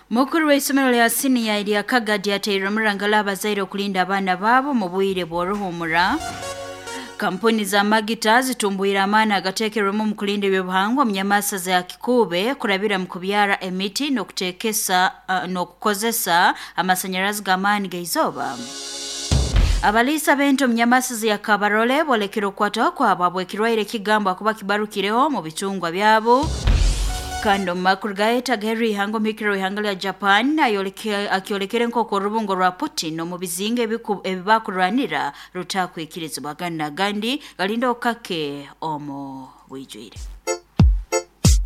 Mukuru w'isomero lya siniya erya Kagadi ateire omurangala abazaire okulinda abaana baabo mu bwire bw'oruhumura. Kampuni za magita zitumbuire amaani agateekerwemu omu kulinda ebyobuhangwa omu nyamasa za Kikuube kurabira mu kubyara emiti n'okuteekesa n'okukozesa amasanyarazi g'amaani g'eizooba. Abaliisa b'ente omu nyamasa ya Kabarole boolekere okukwatwaho kwabo habw'ekirwaire ekigambwa kuba kibarukireho mu bicungwa byabo. Kandi omu makuru gaayetagaherwa ihanga omuhikiriro w'ihanga lya Japan akyolekere nk'oku orubungo rwa Putin omu bizinga ebibakurwanira rutakwikirizibwa. Agandi n'agandi galinda okukake omu bwijwire.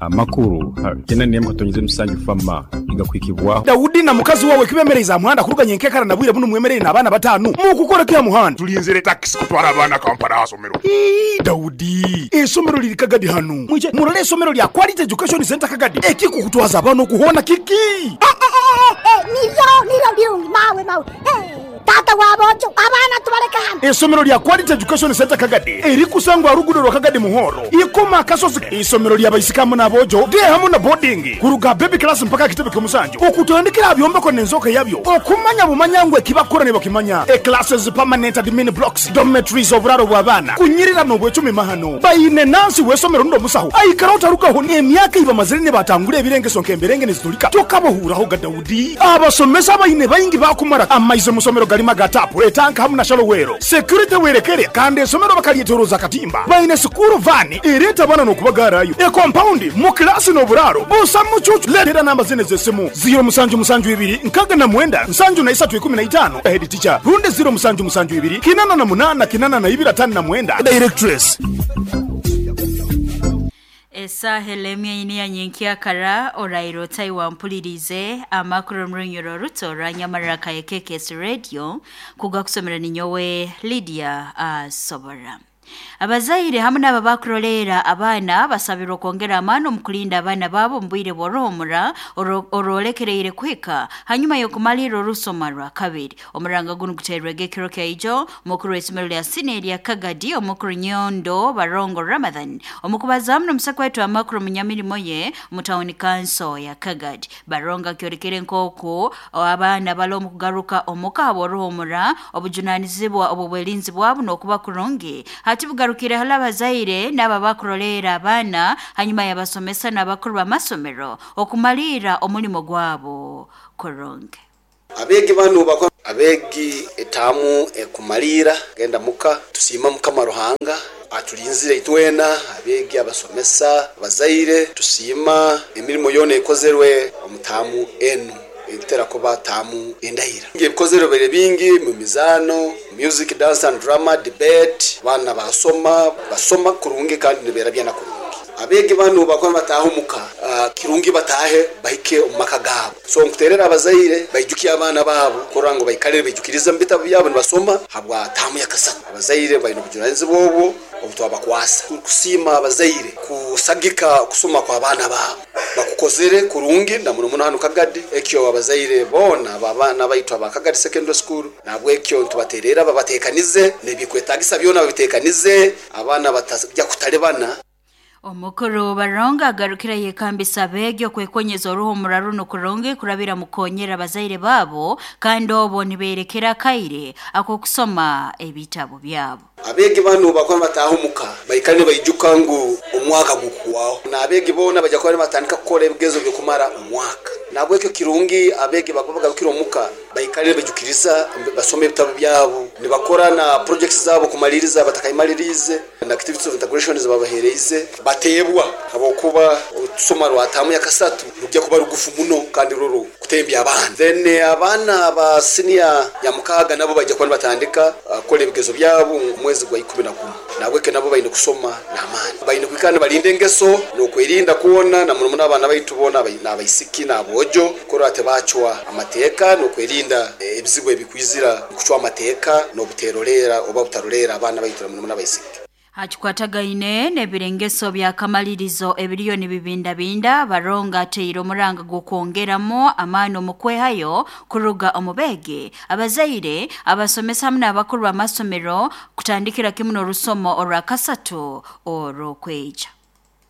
Amakuru 8.7 FAMA nigakuhikibwaho. Daudi na mukazi wawe kibemereize aha muhanda kuruga nyenkekara na bwire bunu mwemereire n'abaana batanu. Mukukora ki aha muhanda? Tulinzire takisi kutwara abaana Kampala aha somero. Ii, Daudi, eisomero liri Kagadi hanu. Mwije murole eisomero lya Quality Education Centre Kagadi. Ekikukutwaza abaana oku hoona kiki? Niryo, niryo birungi mawe, mawe. Taata w'aboojo, abaana tubaleke hanu. Eisomero lya Quality Education Centre Kagadi erikusangwa aha ruguudo rwa Kagadi Muhoro, Ikoma Akasozi. Eisomero lya baisiki hamu n'aboojo, day hamu na boarding, kuruga aha baby class mpaka aha kitebe ky'omusanju, okutandikira aha byombeko n'enzooka yabyo, okumanya bumanya ngu ekibakukora nibakimanya. E Classes, permanent admin blocks, dormitories, oburaaro bw'abaana, kunyirira n'obwecumi mahano. Baine nansi w'eisomero rundi omusaho aikara otarugaho n'emyaka ei bamazire nibatangura ebirengeso nk'emberenge nizitulika. Tokabahuurahoga Daudi. Abasomesa abaine baingi baakumara amaizi omu somero garimu aga taapu, etanka hamu na shalowero. Security werekere kandi esomero bakalyetoroza akatimba. Baine sikuuru vaani ereeta abaana n'okubagaarayo. Ekompaundi, mu kilaasi n'oburaaro busa mucuucu. Leetera namba zinu ez'esimu, ziiro musanju musanju ibiri 69 73 15, Head Teacher, rundi ziiro musanju musanju ibiri 88 82 59, Directress. Esaaha elemya ina ya nyenkyakara oraire otai wampuliriize amakuru omu runyoro oruto orwa Nyamarra KKKS Radio kugakusomera ninyowe Lydia Asobora. Abazaire hamu n'abo abakuroleera abaana basabirwe okwongera amaani omu kulinda abaana baabo omu bwire bw'oruhumura orwolekereire kuhika hanyuma y'okumalirra orusoma rwa kabiri. Omuranga gunu guteerwege ekiro kya ijo omukuru w'isomero lya siniya erya Kagadi omukuru Nyondo Barongo Ramadhan omu kubazaamu n'omusako waitu amakuru omu nyamirimo ye omu tawuni kanso ya Kagadi. Barongo akyolekere nk'oku abaana bali omu kugaruka omuka habw'oruhumura obujunaanizibwa obw'obwerinzi bwabo n'okuba kurungi. Hati bugarukire hali abazaire n'abo abakuroleera abaana hanyuma y'abasomesa n'abakuru b'amasomero okumalirra omulimo gwabo kurungi. Abeegi banu bakora abeegi etaamu ekumaliira genda muka. Tusiima Mukama Ruhanga atulinzire itwena abeegi, abasomesa, abazaire. Tusiima emirimo yoona ekozerwe omu taamu enu etera kuba taamu endaira. Ebikozerwe bibaire bingi mu mizaano, music, dance and drama, debate. Abaana basoma, basoma kurungi kandi niberabya na kurungi. Abeegi banu bakuba nibataaha omuka, kirungi bataahe bahike omu maka gaabo. So nkuteerera abazaire baijukye abaana baabo kurora ngu baikale baijukirize omu bitabu byabo nibasoma habwa taamu ya kasatu. Abazaire baine obujunanizibwa obwo obu twabakwasa. Turukusiima abazaire kusagika okusoma kw'abaana baabo. Bakukozere kurungi na muno muno hanu Kagadi. Ekyo abazaire boona ab'abaana baitu aba Kagadi Secondary School nahabwekyo nitubateerera babateekanize n'ebikwetaagisa byona babiteekanize abaana batajya kutalibana. Omukuru Barongo agarukire yekambisa abeegi okwekonyeza oruhumura runu kurungi kurabira mu kukonyera abazaire baabo kandi obo nibeerekera akaire ak'okusoma ebitabu byabo. Abeegi banu bakuba nibataaha omuka baikale nibaijuka ngu omwaka gukuhwaho. N'abeegi boona baija kuba nibatandika kukora ebigezo by'okumara omwaka. Nahabwekyo kirungi abeegi bakuba bagarukire omuka baikale nibaijukiriza, basome ebitabu byabo, nibakora na projects zaabo kumaliiriza batakaimaliriize. Na activities of integration ezibabahereize bateebwa habwokuba otusoma rwa taamu ya kasatu rugya kuba rugufu muno kandi ruru kutembya abaana. Then abaana ba siniya ya mukaaga nabo baija kuba nibatandika kukora ebigezo byabo omu mwezi gwa 11. Nahabwekyo nabo baine kusoma n'amaani. Baine kwikara nibarinda engeso n'okwerinda kwona na muno muno abaana baitu boona n'abaisiki n'aboojo kurora tibacwa amateeka n'okwerinda ebizibu ebikwizira kucwa amateeka n'obuteroleera oba butaroleera abaana baitu na muno muno abaisiki. Hakikwatagaine n'ebirengeso by'akamalirizo ebiriyo nibibindabinda, Barongo ateire omuranga gw'okwongeramu amaani omu kwehayo kuruga omu beegi, abazaire, abasomesa hamu n'abakuru b'amasomero kutandikira kimu n'orusomo orwa kasatu orw'okwija.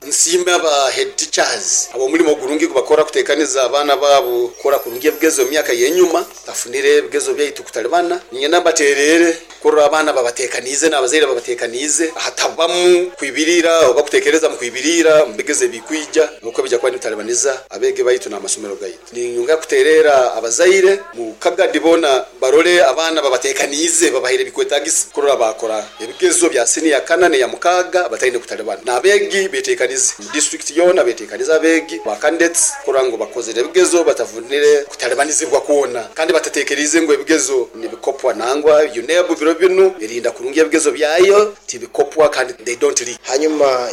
Nsiime aba head teachers ab'omulimo gurungi gubakora kutekaniza abaana baabo kukora kurungi ebigezo mu myaka y'enyuma tafunire ebigezo byaitu kutalibana. Ninyenda mbaterere kurora abaana babatekaniize n'abazaire babatekaniize, hatabamu kwibirira oba kutekereza mu kwibirira mu bigezo ebikwija nuko bijya kuba nibitalibaniza abeegi baitu n'amasomero gaitu. Ninyongera kuterera abazaire mu Kagadi boona barole abaana babatekaniize babahaire ebikwetagisa kurora bakora ebigezo bya siniya kana n'eya mukaaga bataine kutalibana. N'abeegi betekanize mu district yoona, betekanize abeegi ba candidates kurora ngu bakozere ebigezo batavunire kutalibanizibwa kwona, kandi batatekeriize ngu ebigezo nibikopwa. Nangwa UNEB biro binu erinda kurungi ebigezo byayo tibikopwa kandi they don't leak. Hanyuma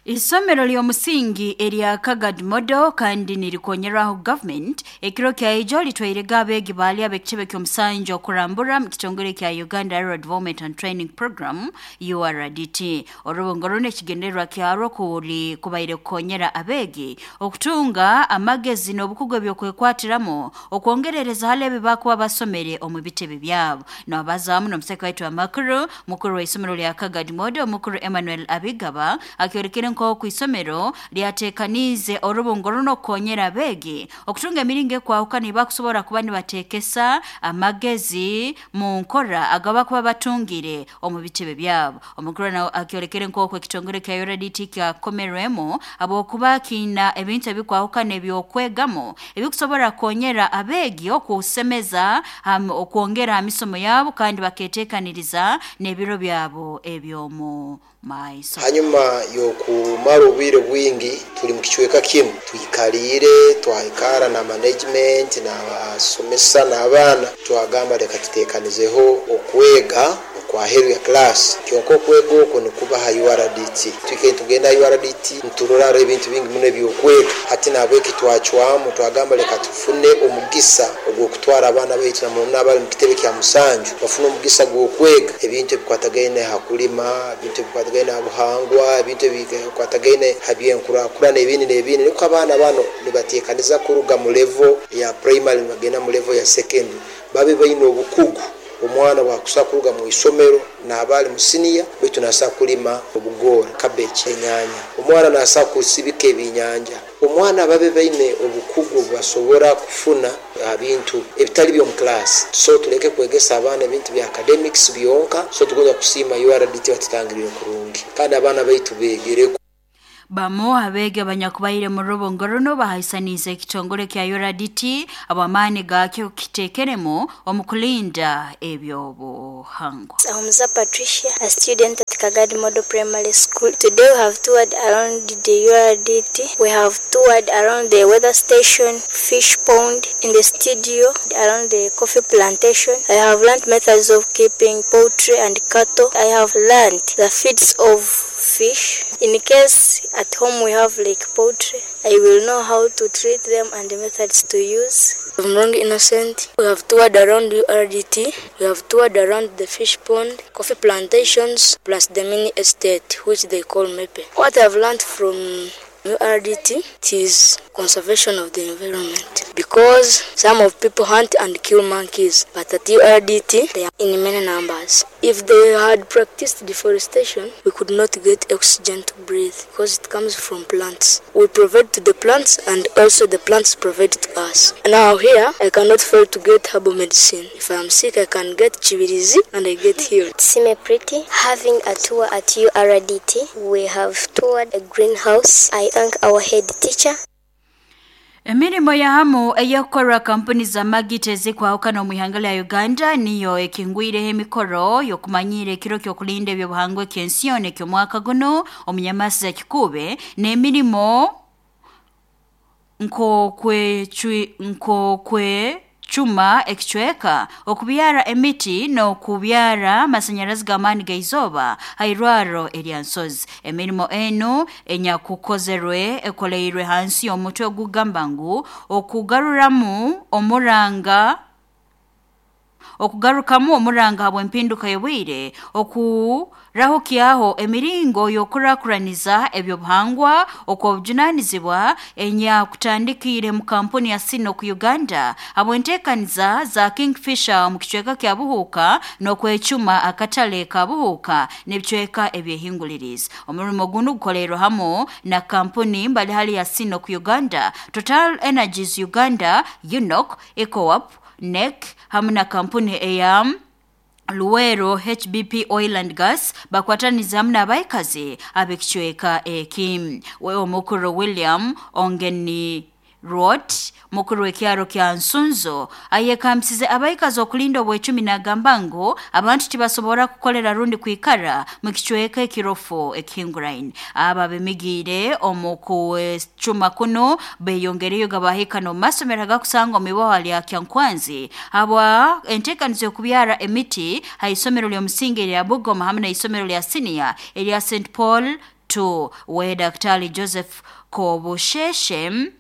Isomero ly'omusingi erya Kagadi Model kandi nirikonyerwaho government ekiro kya ijo litwairega abeegi baali ab'ekitebe ky'omusanju okurambura mu kitongole kya Uganda Rural Development and Training Program URDT. Orubungo runo ekigendererwa kyarwo kuli kubaire kukonyera abeegi okutunga amagezi n'obukugu eby'okwekwatiramo okwongerereza hali ebi bakuba basomere omu bitebe byabo. Nabazaamu n'omuseka waitu amakuru mukuru w'isomero lya Kagadi Model mukuru Emmanuel Abigaba akyorekere nk'oku isomero lyatekaniize orubungo runo okukonyera abeegi okutunga emiringo ekwahukana ebakusobora kuba nibateekesa amagezi mu nkora agabakuba batungire omu bitebe byabo. Omukuru nawe akyorekere nk'oku ekitongole kya URDT kyakomerwemu habwokuba kiina ebintu ebikwahukana ebyokwegamo ebikusobora kukonyera abeegi okusemeza okwongera ha misomo yabo kandi baketeekaniriza n'ebiro byabo eby'omu maiso. Hanyuma y'okumara obwire bwingi tuli mu kicweka kimu twikaliire, twahikara na management n'abasomesa n'abaana, twagamba leka tutekanizeho okwega okwaheru ya class. Kyonka okwega okwo nikuba ha URDT. Twikaire nitugenda ha URDT niturora ebintu bingi muno ebyokwega. Hati nahabweki twacwamu twagamba leka tufune omugisa ogw'okutwara abaana baitu na muno n'abali mu kitebe kya musanju bafune omugisa gw'okwega ebintu ebikwatagaine ha kulima, ebintu ebikwatagaine ha buhangwa, ebintu ebikwatagaine ha byenkurakurana ebindi n'ebindi, nukwo abaana bano nibatekaniza kuruga mu level ya primary nibagenda mu level ya secondary babe baine obukugu. Omwana bwakusa kuruga mu isomero naaba ali mu siniya baitu naasa kulima obugoora, cabbage, enyanya. Omwana naasa kusibika ebinyanja. Omwana babe baine obukugu obubasobora kufuna ha bintu ebitali by'omu class. So tuleke kwegesa abaana ebintu bya academics byonka. So tugonza kusiima URDT batutangirire kurungi kandi abaana baitu beegereko. Bamu abeegi abanyakubaire mu rubungo runo bahaisaniize ekitongole kya URDT ab'amaani gaakyo kiteekeremu omu kulinda ebyobuhangwa. Ahumuza Patricia, a student at Kagadi Model Primary School. Today we have toured around the URDT. We have toured around the weather station, fish pond, in the studio, around the coffee plantation. I have learned methods of keeping poultry and cattle. I have learned the feeds of fish. In case at home we have like poultry, I will know how to treat them and the methods to use. I'm Wrong Innocent. We have toured around URDT. We have toured around the fish pond, coffee plantations, plus the mini estate, which they call Mepe. What I've learned from URDT is conservation of the environment, because some of people hunt and kill monkeys, but at URDT they are in many numbers. If they had practiced deforestation, we could not get oxygen to breathe because it comes from plants. We provide to the plants and also the plants provide to us. Now here, I cannot fail to get herbal medicine. If I am sick, I can get chibirizi and I get healed. Sime Pretty, having a tour at URDT, we have toured a greenhouse. I thank our head teacher. Emirimo ya hamu eyakukorwa kampuni za magita ezikwahukana omu ihanga lya Uganda niyo ekingwireho emikoro y'okumanyira ekiro ky'okulinda ebyobuhangwa eky'ensi yoona eky'omwaka guno omu nyamasi za Kikuube n'emirimo nk'okwecuma ekicweka, okubyara emiti n'okubyara amasanyarazi g'amaani g'eizooba ha irwarro erya Nsozi. Emirimo enu enyakukozerwe ekoleirwe hansi y'omutwe ogugamba ngu okugaruramu omuranga Okugarukamu omuranga habw'empinduka y'obwire okurahukyaho emiringo y'okurakuraniza ebyobuhangwa okw'obujunanizibwa enyakutandikiire mu kampuni ya Sinok Uganda habw'enteekaniza za Kingfisher omu kicweka kya Buhuuka n'okwecuma akatale ka Buhuuka n'ebicweka ebyehingulirizi. Omurimo gunu gukolerwe hamu na kampuni mbalihali ya Sinok Uganda, Total Energies Uganda, UNOC, ECOWAP, NEC hamu na kampuni eya Luwero HBP Oil and Gas bakwataniza hamu n'abaikazi ab'ekicweka eki. We omukuru William Ongeni Rot mukuru w'ekyaro kya Nsunzo ayekambisize abaikazi okulinda obwecumi n'agamba ngu abantu tibasobora kukolera rundi kwikara mu kicweka ekirofu ekihinguraine. Aba bemigiire omu kucuma kuno beyongereyo gabahika n'omu masomero agakusanga omu iboha lya Kyankwanzi habwa enteekaniza y'okubyara emiti ha isomero ly'omusingi erya Bugoma hamu n'isomero lya siniya erya St Paul 2. We Daktari Joseph Kobusheshe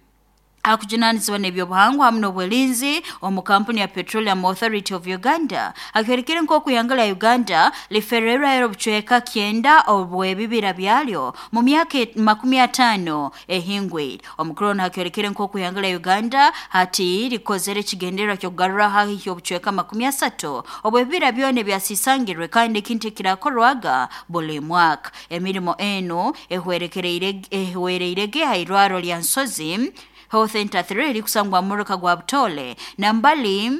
akujunanizibwa n'ebyobuhangwa hamu n'obwelinzi omu kampuni ya Petroleum Authority of Uganda akyorekere nk'oku ihanga lya Uganda lifererwayo obucweka 9 obw'ebibira byalyo mu myaka 50 ehingwire. Omukuru ono akyorekere nk'oku ihanga lya Uganda hati likozere ekigendererwa ky'okugarura haihi obucweka 30 obw'ebibira byona ebyasisangirwe kandi ekintu ekirakorwaga buli mwaka. Emirimo eno ehwereirege ha irwaro lya Nsozi Health Center 3 erikusangwa muruka gwa Butole nambali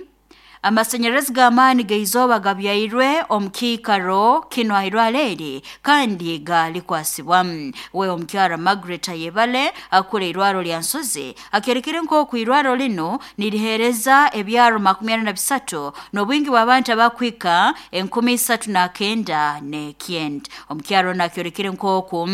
amasanyarazi g'amaani g'eizooba gabyairwe omu kiikaro kino ahirwaro eri kandi galikwasibwamu. We omukyara Margaret Ayebale akura irwaro lya Nsozi akyerekere nk'oku irwaro lino niriheereza ebyaro 43 n'obwingi bw'abantu abakwika 3909. Omukyaro ono akyorekere nk'oku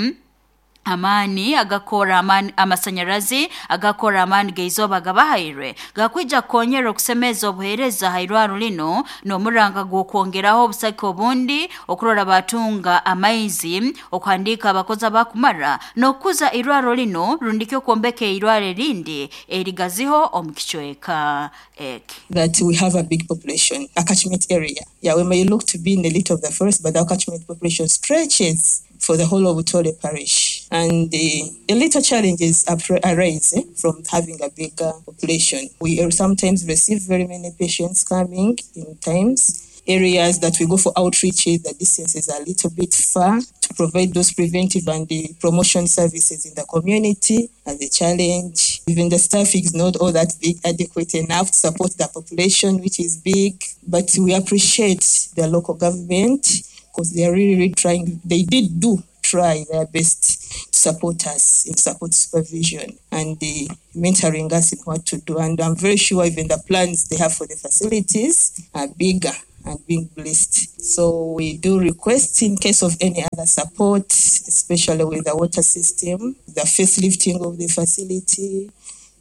amaani agakora amaani amasanyarazi agakora amaani g'eizooba gabahairwe gakwija kukonyera okusemeza obuheereza ha irwaro lino n'omuranga gw'okwongeraho obusake obundi okurora batunga amaizi, okuhandiika abakozi abakumara n'okukuza irwaro lino rundiki okwombeka eirwaro erindi erigaziho omu kicweka eki. That we have a big population, a catchment area. Yeah, we may look to be in the little of the forest, but our catchment population stretches for the whole of Butole parish. And the little challenges arise from having a bigger population. We sometimes receive very many patients coming in times. Areas that we go for outreach, the distances are a little bit far to provide those preventive and the promotion services in the community as a challenge. Even the staff is not all that big, adequate enough to support the population, which is big. But we appreciate the local government because they are really, really trying. They did do try their best to support us in support supervision and the mentoring us in what to do. And I'm very sure even the plans they have for the facilities are bigger and being blessed. So we do request in case of any other support, especially with the water system, the facelifting of the facility,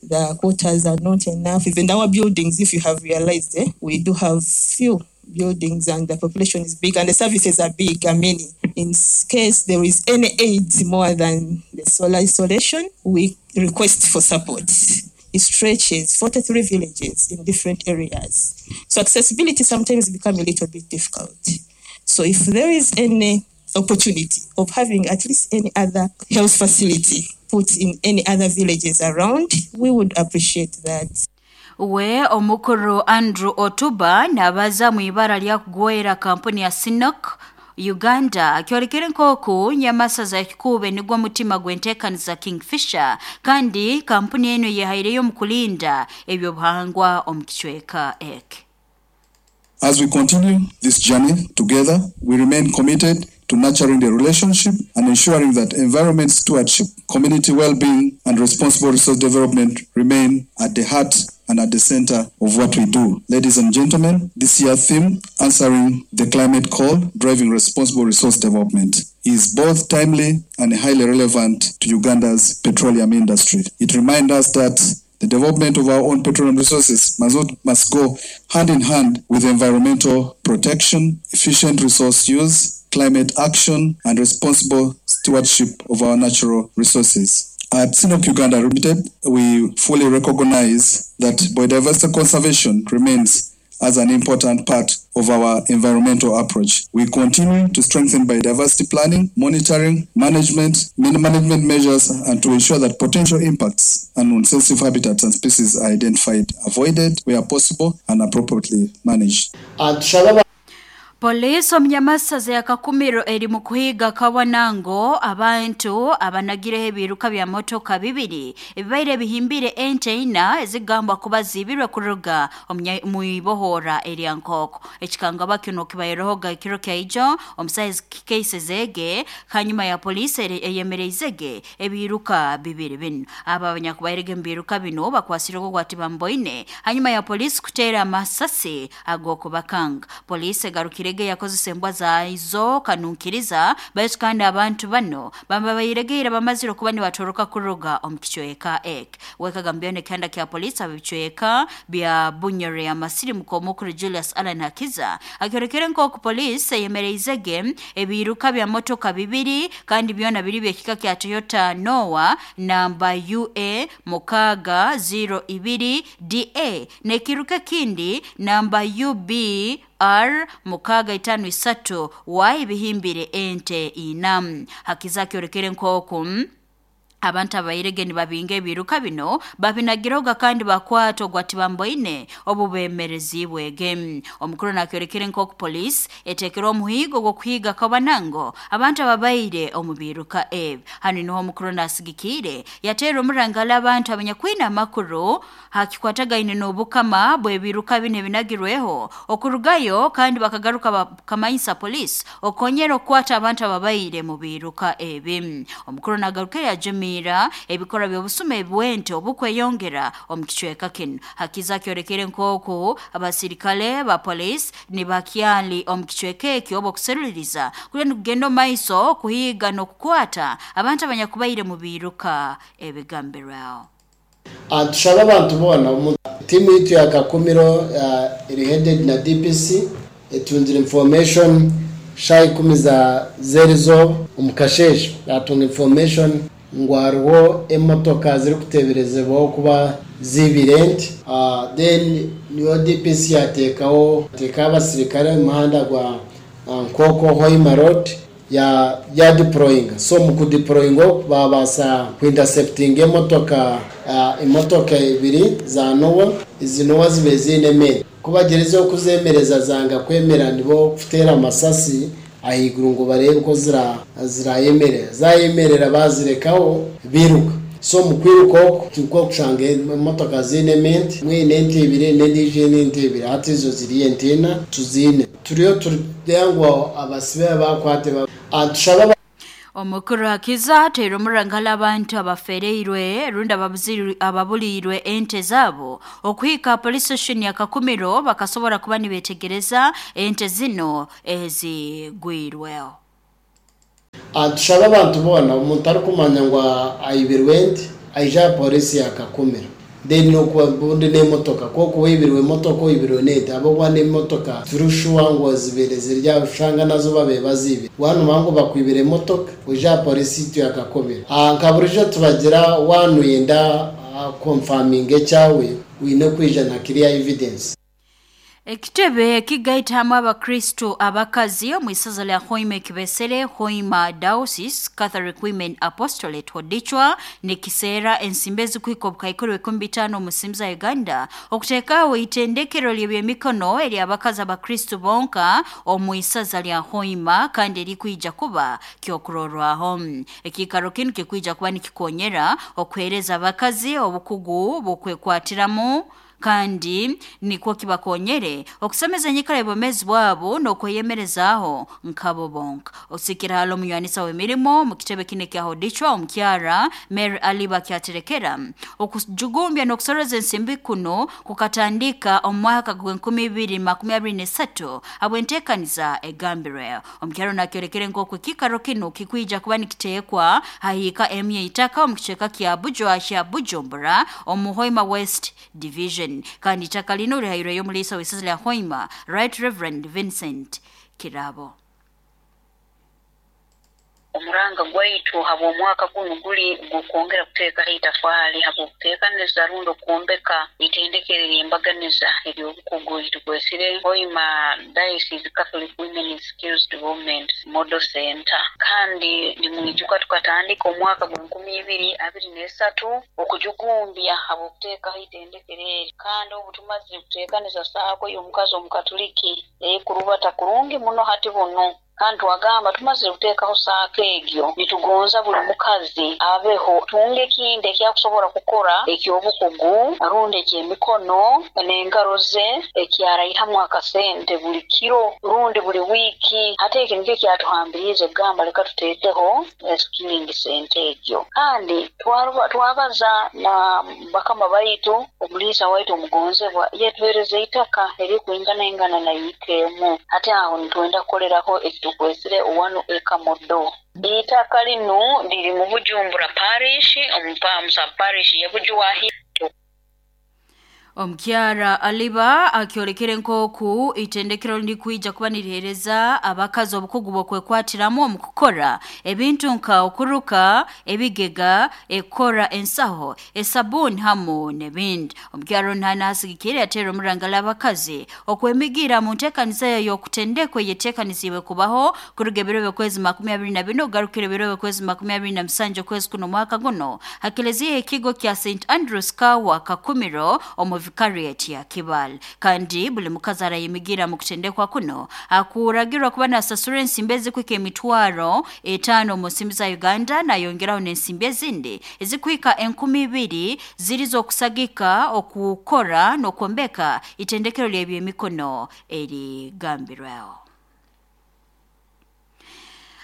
the quotas are not enough. Even our buildings, if you have realized, we do have few buildings and the population is big and the services are big and many. In case there is any aid more than the solar installation, we request for support. It stretches 43 villages in different areas. So accessibility sometimes becomes a little bit difficult. So if there is any opportunity of having at least any other health facility put in any other villages around, we would appreciate that. We omukuru Andrew Otuba nabaza mu ibara lya kugwera kampuni ya Sinok Uganda akyorekere nk'oku nyamasaza ekikube nigwo mutima gw'enteekaniza Kingfisher kandi kampuni eno yehaireyo mu kulinda ebyobuhangwa omu kicweka eki. As we continue this journey together, we remain committed to nurturing the relationship and ensuring that environment stewardship, community well-being, and responsible resource development remain at the heart and at the center of what we do. Ladies and gentlemen, this year's theme, Answering the Climate Call, Driving Responsible Resource Development, is both timely and highly relevant to Uganda's petroleum industry. It reminds us that the development of our own petroleum resources must go hand in hand with environmental protection, efficient resource use, climate action, and responsible stewardship of our natural resources. At Sinop Uganda Limited, we fully recognize that biodiversity conservation remains as an important part of our environmental approach. We continue to strengthen biodiversity planning, monitoring, management, management measures, and to ensure that potential impacts and non-sensitive habitats and species are identified, avoided where possible, and appropriately managed. Poliisi omunyamasaza ya Kakumiro eri mu kuhiga Kawanango abantu abanagireho ebiruka bya motoka bibiri ebibaire bihimbire ente ina ezigambwa kuba zibirwe kuruga mu ibohora erya Nkoko. Ekikangaba kino kibairehoga ekiro kyaijo omusaizi kikeisezege hanyuma ya poliisi eyemereizege ebiruka bibiri bino. Aba abanyakubairege mu biruka bino bakwasirwe ogwati bamboine hanyuma ya poliisi kuteera amasasi ag'okubakanga. Poliisi egarukire yakozesa embwa zaizo kanunkiriza baitu kandi abantu bano babayiregeire bamazire okuba nibatoroka kuruga omu kicweka ek wekagambiyone kihanda kya poliisi abicweka bya Bunyore ya Masirimuko omukuru Julius Allan Hakiza akyorekere nk'oku poliisi eyemereizege ebiruka bya motoka bibiri kandi byona biri byekika kya Toyota Noah namba UA 602 DA n'ekiruka kindi namba UB R 653 Y bihimbire ente ina. Hakiza kyorekere nk'oku abantu abairege nibabinga ebiruka bino babinagiroga kandi bakwata ogwati bamboine obubemerezibwege. Omukuru nakyorekere nk'oku poliisi etekere omuhigo gw'okuhiga Kabanango abantu ababaire omu biruka ebi. Hanu niho omukuru nasigikire yateera omurangala abantu abanyakwina amakuru hakikwatagaine n'obukama bw'ebiruka bino ebinagirweho okurugayo kandi bakagaruka bakamanyisa poliisi okonyera okukwata abantu ababaire mu biruka ebi. Omukuru nagarukire yajumi ebikorwa by'obusume ebwente obukweyongera omu kicweka kino. Hakiza kyorekere nk'oku abasirikale ba poliisi nibakyali omu kicweka ekyo obukuseruliriza kuli nikugenda omu maiso kuhiga n'okukwata abantu abanyakubaire mu biruka ebigambirwaho. Tushaba abantu boona tiimu yitu ya Kakumiro eri headed na DPC etunzire information sha 10 za zerizo omukasheshe atunga information ngu hariho emotoka zirikuteeberezebwaho kuba zibire ente. Then niyo DPC yateekaho teekaho abasirikare omu muhanda gwa Nkoko Hoima Road ya deployinga. So mu kudeployinga oku babaasa kuinterceptinga emotoka ibiri za Noah. Izi Noah zibe ziine emere kubagerezeho kuzemereza zanga kwemera nibo kuteera amasasi ahaiguru ngu barebe ko zirayemerera zayemerera bazirekaho biruka. So mu kwiruka oku tukwo kushanga emotoka ziine ente mwine ente ibiri n'endiijo eine ente ibiri hati izo ziri ente ina tuziine turiyo turikugira abasibe bakwate tushaba. Omukuru Hakiza ateire omurangala abantu abafereirwe rundi ababulirwe ente zabo okuhika police station ya Kakumiro bakasobora kuba nibetegereza ente zino ezigwirweho. Tushaba abantu boona omuntu arikumanya ngu ayibirwe ente aija polisi ya Kakumiro then nokubundi n'emotoka kwokuba oyibirwe emotoka oyibirwe n'ente abakuba n'emotoka turushuwa ngu zibere zirya ushanga nazo babe bazibire wanuma ngu bakwibira emotoka oija polisi yitu ya Kakumiro. Nka burijo tubagira wanu yenda confirming ekyawe wine kwija na clear evidence. Ekitebe kigaitamu abakristo abakazi omu isaza lya Hoima ekibesere Hoima Diocese Catholic Women Apostolate Hodichwa nikiseera ensimbi ezikuhika obukaikuru 15 omu nsimbi za Uganda okuteekaho itendekero ly'ebyemikono ery'abakazi abakristo bonka omu isaza lya Hoima kandi erikwija kuba kyokurorwaho. Ekiikaro kinu kikwija kuba nikikonyera okuheereza abakazi obukugu bw'okwekwatiramu kandi nikwo kibakonyere okusemeza enyikara y'obwomeezi bwabo n'okweyemerezaaho nkabo bonka. Osikira hali omunywanisa w'emirimo mu kitebe kinu ekya Hodichwa omukyara Mary Aliba kyaterekera okujugumbya n'okusoroza ensimbi kuno kukatandika omu mwaka gwa 2023 habw'enteekaniza egambirwe. Omukyaro nakyorekere nk'oku ekiikaro kinu kikwija kuba nikiteekwa hahiika emu y'eitaka omu kicweka kya Bujwa kya Bujumbura omu Hoima West Division kandi itaka lino lihaireyo omuliisa w'isaza lya Hoima Right Reverend Vincent Kirabo. Omuranga gwaitu habw'omwaka gunu guli gw'okwongera kuteekaho itafaali habw'okuteekaniza rundi okwombeka itendekero ery'embaganiza ery'obukugu eritukwesire Hoima Diocese Catholic Women's Skills Development Model Center. Kandi nimwijuka tukatandika omwaka gw'e2023 okujugumbya habw'okuteekaho itendekero eri. Kandi obu tumazire kuteekaniza saako y'omukazi omukatuliki ekurubata kurungi muno hati bunu. Kandi twagamba tumazire kuteekaho saako egyo, nitugonza buli mukazi abeho tunga ekindi ekyakusobora kukora eky'obukugu rundi eky'emikono n'engaro ze ekyaraihamu akasente buli kiro rundi buli wiiki. Hati eki nikyo kyatuhambiriize kugamba leka tuteekeho skilling center egyo. Kandi twabaza na bakama baitu, omuliisa waitu omugonzebwa yatuheereza eitaka erikwinganaingana na yiika emu. Hati aho nitwenda kukoleraho ekitukwesire One Acre Model. Eitaka linu liri mu Bujumbura Parish, omu sub-parish ya Bujwahi. Omukyara Aliba akyolekere nk'oku itendekero lirikwija kuba niriheereza abakazi obukugu bw'okwekwatiramu omu kukora ebintu nka okuruka ebigega, ekukora ensaho, esabuuni hamu n'ebindi. Omukyara onu hanu asigikire yateera omurangala abakazi okwemigira mu nteekaniza ye y'okutendekwa eyeteekaniziibwe kubaho kuruga ebiro by'okwezi 24 okugarukira ebiro by'okwezi 27 okwezi kuno omwaka guno ha keleziya y'ekigo kya St Andrews Kawa Kakumiro omu vicariate ya Kibale. Kandi buli mukazi arayemigira mu kutendekwa kuno akuragirwa kuba nasasura ensimbi ezikuhika 5000 omu nsimbi za Uganda, nayongeraho n'ensimbi ezindi ezikuhika 2000 ziri z'okusagika okukora n'okwombeka itendekero ly'ebyemikono erigambirweho.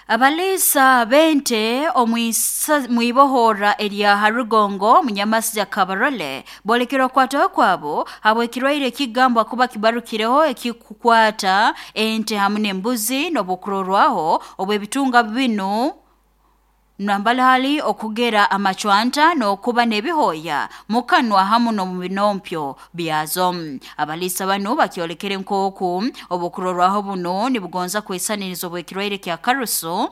Abaliisa b'ente omwibohora erya Harugongo Munyamasya Kabarole boolekere okukwataho kwabo habw'ekirwaire ekigambwa kuba kibarukireho ekikukwata ente hamu n'embuzi n'obukurorwaho obw'ebitunga binu nambali hali okugera amacwanta n'okuba n'ebihooya mu kanwa hamu n'omu binompyo byazo. Abaliisa banu bakyolekere nk'oku obukurorwaho bunu nibugonza kwesaniriza obw'ekirwaire kya karusu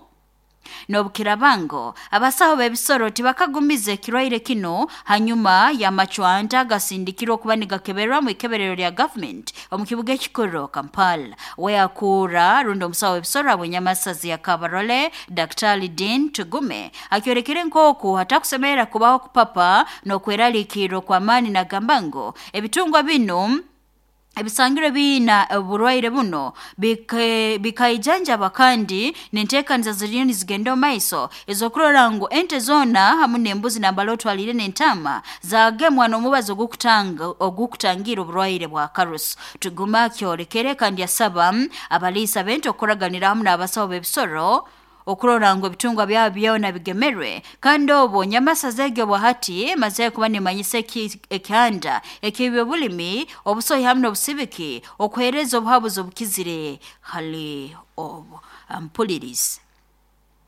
n'obukirabango abasaho b'ebisoro tibakagumiza ekirwaire kinu hanyuma y'amacwanta agasindikirwe okuba nigakeberwa mu ikeberero lya gavumenti omu kibuga ekikuru Kampala. We akuura rundi omusaho w'ebisoro habw'enyamasazi ya Kabarole Daktari Dean Tugume akyolekere nk'oku hatakusemerera kubaho kupapa n'okweraliikirra okw'amaani, nagamba ngu ebitungwa binu ebisangirwe biina oburwaire buno bikaijanjaba kandi n'enteekaniza ziriyo nizigenda omu maiso ez'okurora ngu ente zoona hamu n'embuzi nambali otwaliire n'entaama zagemwa n'omubazi ogukutangira oburwaire bwa karusu. Tuguma akyolekere kandi asaba abaliisa b'ente okukuraganira hamu n'abasaho b'ebisoro okurora ngu ebitungwa byabo byona bigemerwe. Kandi obwo nyamasaza egyo bwahati emaze kuba nimanyisa ekihanda eky'ebyobulimi, obusohi hamu n'obusibiki okuheereza obuhabuzi obukizire hali obu. Ampulirize.